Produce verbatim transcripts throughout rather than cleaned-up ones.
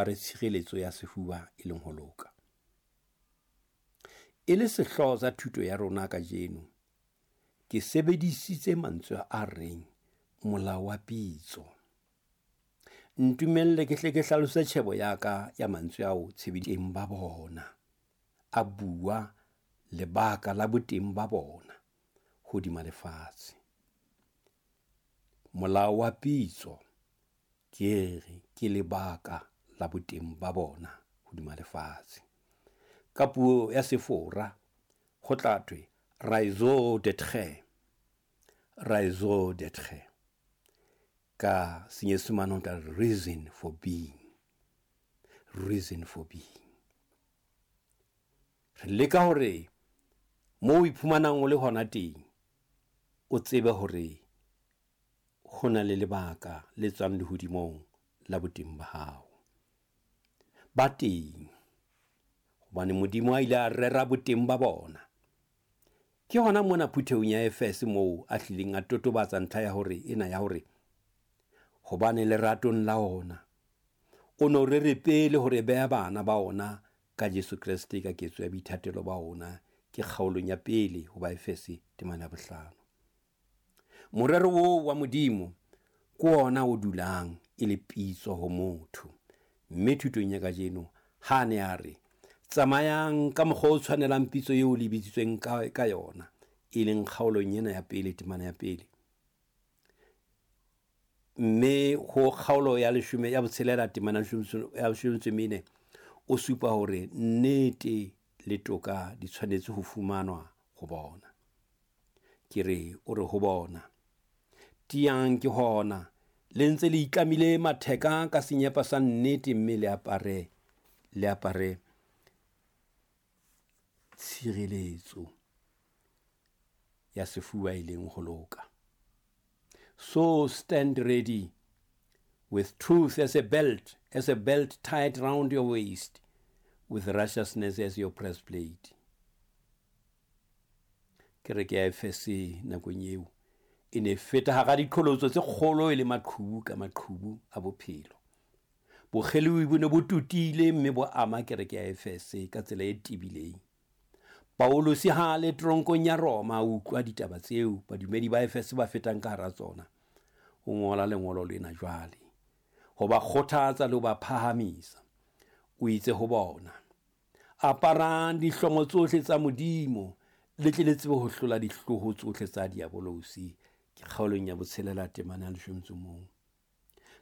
Re tshireletso ya sefuba e leng ho loka. E le sehlooho sa thuto ya rona kajeno, ke sebedisitse mantswe a reng molao wa pitso. Ntumelle ke hle ke hlalose tjhebo ya ka ya mantswe ao tshebedisong ba bona. A bua lebaka la boteng ba bona hodima lefatshe. Molao wa pitso ke re ke lebaka la boteng ba bona hodima lefatshe. Ka puo ya Sefora ho tla thwe raison d'être, raison d'être. Ka Senyesemane ho tla re reason for being, reason for being. Re leka hore moo o iphumanang o le hona teng, o tsebe hore ho na le lebaka le tswang lehodimong la boteng ba hao. Ba teng hobane Modimo a ile a rera boteng ba bona. Ke hona mona phuthehong ya Efese moo a hlileng a totobatsa ntlha ya hore ena ya hore hobane leratong la ona o no rere pele hore beha bana ba ona ka Jesu Kreste ka ketso ya boithatelo ba ona, ke kgaolong ya pele ho Baefese temana ya bohlano. Morero oo wa Modimo ke ona o dulang e le pitso ho motho. Mme thutong ya kajeno ha ne a re tsamayang ka mokgwa o tshwanelang pitso eo le bitsitsweng ka, ka yona, e leng kgaolong ena ya pele temana ya pele. Mme ho kgaolo ya leshome ya botshelela temana ya leshome metso e mene, o supa hore nnete le toka di tshwanetse ho fumanwa ho bona. Ke re o re ho bona, tiyang ke hona le ntse le itlamile matheka ka senyepa sa nnete, mme le apare le apare tshireletso ya sefuba e leng ho loka. So stand ready with truth as a belt, as a belt tied round your waist, with righteousness as your breastplate. Kereke ya Efese nakong eo e ne feta hara diqholotso tse kgolo e le maqhubu ka maqhubu a bophelo. Bokgelohi bo ne bo totile mme bo ama kereke ya Efese ka tsela e tebileng. Paulus ha le tronkong ya Roma a utlwa ditaba tseo badumedi ba Efese ba fetang ka hara tsona. O ngola lengolo lena jwale ho ba kgothatsa le ho ba phahamisa. O itse ho bona, aparang dihlomo tsohle tsa Modimo le tle le tsebe ho hlola dihloho tsohle tsa diabolosi. Ke kgaolong ya botshelela temana ya leshome metso mong.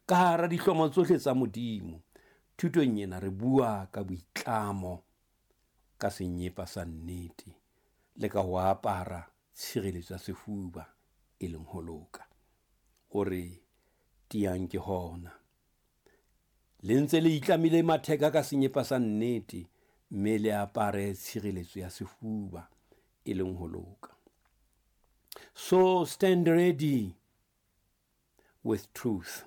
Ka hara dihlomo tsohle tsa Modimo, thutong ena re bua ka boitlamo ka senyepa sa nnete le ka ho apara tshireletso ya sefuba e leng ho loka. O re tiyang ke hona le ntse le itlamile matheka ka senyepa sa nnete, mme le apare tshireletso ya sefuba e leng ho loka. So stand ready with truth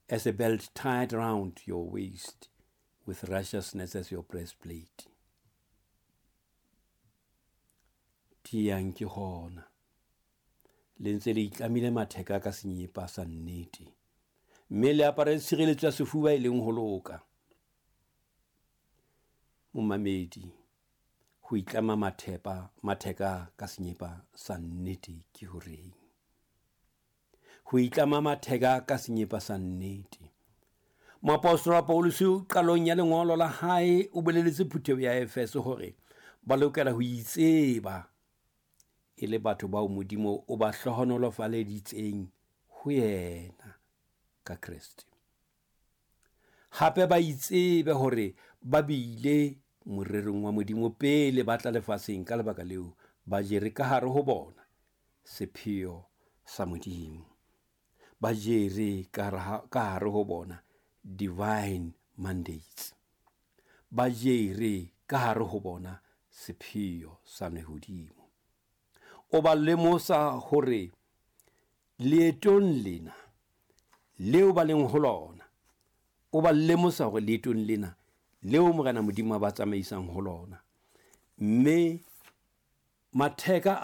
as a belt tied round your waist, with righteousness as your breastplate. Tiyang ke hona le ntse le itlamile matheka ka senyepa sa nnete, mme le apare tshireletso ya sefuba e leng ho loka. Momamedi, ho itlama mathepa matheka ka senyepa sa nnete ke horeng? Ho itlama matheka ka senyepa sa nnete. Moapostola Paulus qalong ya lengolo la hae o boleletse phutheho ya Efese hore ba lokela ho itseba e le batho bao Modimo o ba hlohonolofaleditseng ho yena ka Kreste. Hape ba itsebe hore ba bile morerong wa Modimo pele ba tla lefatsheng, ka lebaka leo ba jere ka hare ho bona sepheo sa Modimo. Ba jere ka hare ho bona divine mandates. Ba jere ka hare ho bona sepheo sa lehodimo. O ba lemosa hore leetong lena leo ba leng ho lona, o ba lemosa hore leetong lena leo Morena Modimo a ba tsamaisang ho lona, mme matheka a